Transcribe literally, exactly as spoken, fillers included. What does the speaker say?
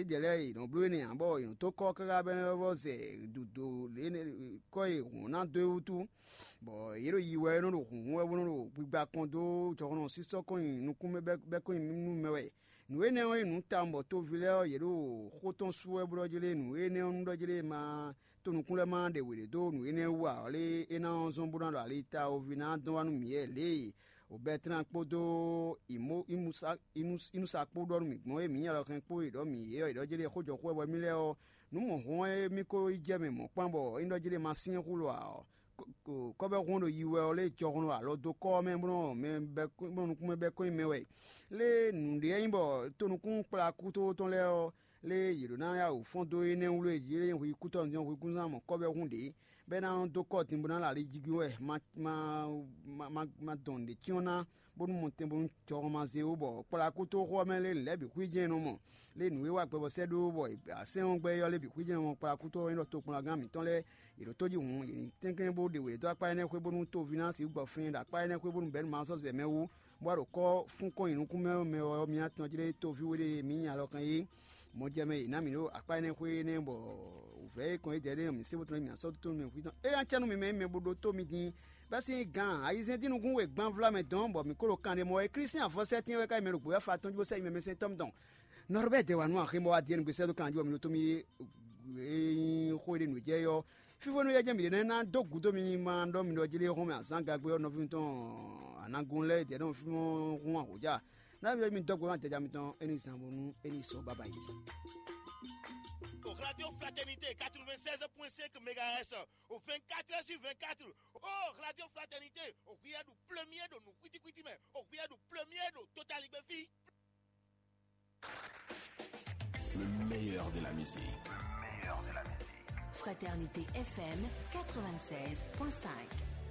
Édɛɛ lɛ́ɛ è nɔ bló énɛ́ ǎ, bɔ è nɔ tó kɔ́ káká bɔ é vɔ zɛ dǒdó lě kɔ́ e hǔn ná dó é wútu, bɔ yě ɖo yi wɛ, é nɔ ɖo hǔnhún wɛ, bó nɔ ɖo gbigba kɔn dó jɔhɔn sísɔ́ kɔn nyi nukún mɛ bɛ́ kɔn nyi nú mɛ wɛ. Nǔ énɛ́ ɔ́ nyí nǔ tawun bɔ toví lɛ́ɛ ɔ́, yě ɖo xó tɔn sú wɛ bó ɖɔ jlé nǔ énɛ́ ɔ́ nú ɖɔ jlé ma tonukún lɛ́ɛ ma ɖe wě ɖé dó nǔ énɛ́ wú ǎ, ɔ́ lé é ná zɔ́n bó ná ɖo ali ta oví ná dɔn wá nú mǐ wɛ lě e Obɛ́tlán kpódó Inusa kpó ɖɔ nú mǐ gbɔn e mǐ nyí alɔxɛn kpó e ɖɔ mǐ é ɔ́, è ɖɔ jlé xójɔxó wɛ bɔ mì lɛ́ɛ ɔ́, nǔ mɔ̌hun ɔ́, émí ko yi jɛ mɛ mɔ̌ kpán bɔ é ɖɔ jlé ma syɛ́n xú lɔ ǎ ɔ́, kɔ́bɛ́hún ɖo yi wɛ ɔ́ lé jɔhɔn ɖo alɔ dó kɔ́ ɔ́ mɛ bó nɔ mɛ bɛ́ kɔn bó nɔ nukún mɛ bɛ́ kɔn nyi mɛ wɛ. Lé nǔɖé nyí bɔ tonukún kplá kútótɔn lɛ́ɛ ɔ́, lé yě ɖó ná yá wǔ fɔ́n dó énɛ́ wú lé yě lé hwikútɔ́ nyɔ́ hwikúnzán mɔ kɔ́bɛ́hún ɖě, bɔ é ná dó kɔ́ din bó ná lɛ ali jigin wɛ ma ma ma ma dɔn nǔɖé cyɔ́n ná bónú mɔtɛn bónú jɔhɔn ma zé wú, bɔ kplá kútóxó ɔ́ mɛ lé nǔ lɛ́ɛ bǐ xwí jɛ́n nɔ mɔ. Lé nǔ e wá gbɛ bɔ sɛ́ ɖó bɔ asɛ́n ɔ́ gbɛ é ɔ́ lé bǐ xwí jɛ́n nɔ mɔ. Kplá kútóxó ɔ́ nyí ɖɔ tokplɔ́ngán mǐtɔn lɛ́ɛ, yě ɖo tó jí hǔn, yě ní tɛ́nkɛ́n bó ɖe wě dó akpá énɛ́ xwé bónú tóví ná sixú gbɔ fɛ́n ɖo akpá énɛ́ xwé bónú bɛ̌ nú ma sɔ́ zɛ mɛ wú, bó wá ɖo kɔ́ fún kɔn nyi nukún mɛ mɛ ɔ́, mǐ atɔn jlé tóví we ɖé mǐ nyi alɔ kan yí. Mɔjɛmɛ yě ná mǐ ɖo akpá énɛ́ xwé énɛ́ bɔ wǔvɛ́ e kɔn yí dɛ̌ ɖé ɔ́, mǐ sé bó tlɔ́n mǐ asɔ́ tónú mɛ xwí tɔn. É ná cɛ nú mi mɛ mɛ bó ɖótó mi din bɛ́ sín gǎn ayizɛ́n dín nukún we gbán vlá mɛ dɔn, bɔ mǐ kó ɖo kanɖe mɔ wɛ. Klísu sín avɔsɛ́tɛ́n wɛ ká yi mɛ ɖo gbǒ wɛ fa tɔn jí bó sɛ́ nyi mɛ mɛsɛntɔ́ mitɔn. Nɔrubɛ́ dɛ wa nú axé mɔ wá dín gbèsè dó kan jí bɔ mi ɖótó mi é nyí xó e ɖe nǔ jɛ é ɔ́. Fífónú yɛ jɛ mi ɖe nɛ́ ná dó gǔdo mi ma ɖɔ mi ɖɔ jí lé xɔ́n mɛ azǎn gagbe ɔ́, nɔví tɔn anagun lɛ́ɛ dɛ̌ nɔ fí mɔ hún ahǒjá. Ná mi dɔgbe ma jɛja mitɔn é ní zan bónú é ní sɔ baba yi. Au Radio Fraternité quatre-vingt-seize point cinq mégahertz, au vingt-quatre heures sur vingt-quatre. Oh, Radio Fraternité, au rien du premier de nous, quiti quiti, mais au rien du premier de Total Igbefi. Le meilleur de la musique. Fraternité F M quatre-vingt-seize point cinq.